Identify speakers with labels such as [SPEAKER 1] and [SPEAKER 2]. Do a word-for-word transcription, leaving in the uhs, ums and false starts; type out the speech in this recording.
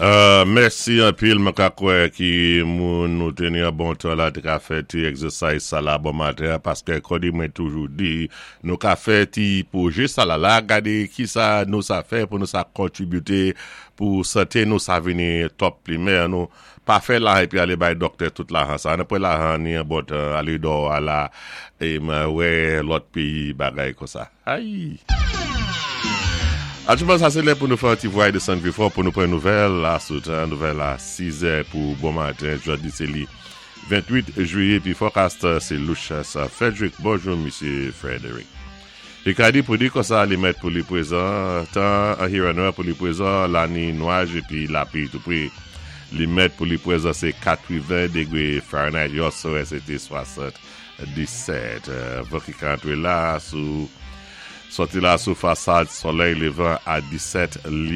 [SPEAKER 1] Euh, mèsi anpil, mwen ka kwè ki moun nou teni an bon tan la te ka fè ti exercise sa la bon maten, paske kòdi mwen toujou di, nou ka fè ti pwojè sa la la, gade ki sa nou sa fè pou nou sa kontribute pou sante nou sa vini top primè nou. Pa fè la epi ale bay doktè tout lajan sa. An apre lajan ni an bon tan, ale do ala, e mwen wè lòt peyi bagay kon sa. Ay! Aktyèlman, sa sé lè pou nou fè yon ti vway desann pi fò pou nou pran nouvèl la sou tan, nouvèl a sis è pou bon maten, jodi sé li ventwit jwiyé, pi forecast sé Lucius Frederick. Bonjou, Misye Frederick. Ricadi pou di kon sa li mèt pou li pwézan, tan an Huron pou li pwézan, la ni nwaj épi lapwi tou pwé. Li mèt pou li pwézan sé katreven dégwé Fahrenheit, yè swè sé té swasanndisèt. Van ki ka antré la sou sòti la sou fasad solèy lévan a disèt lyé.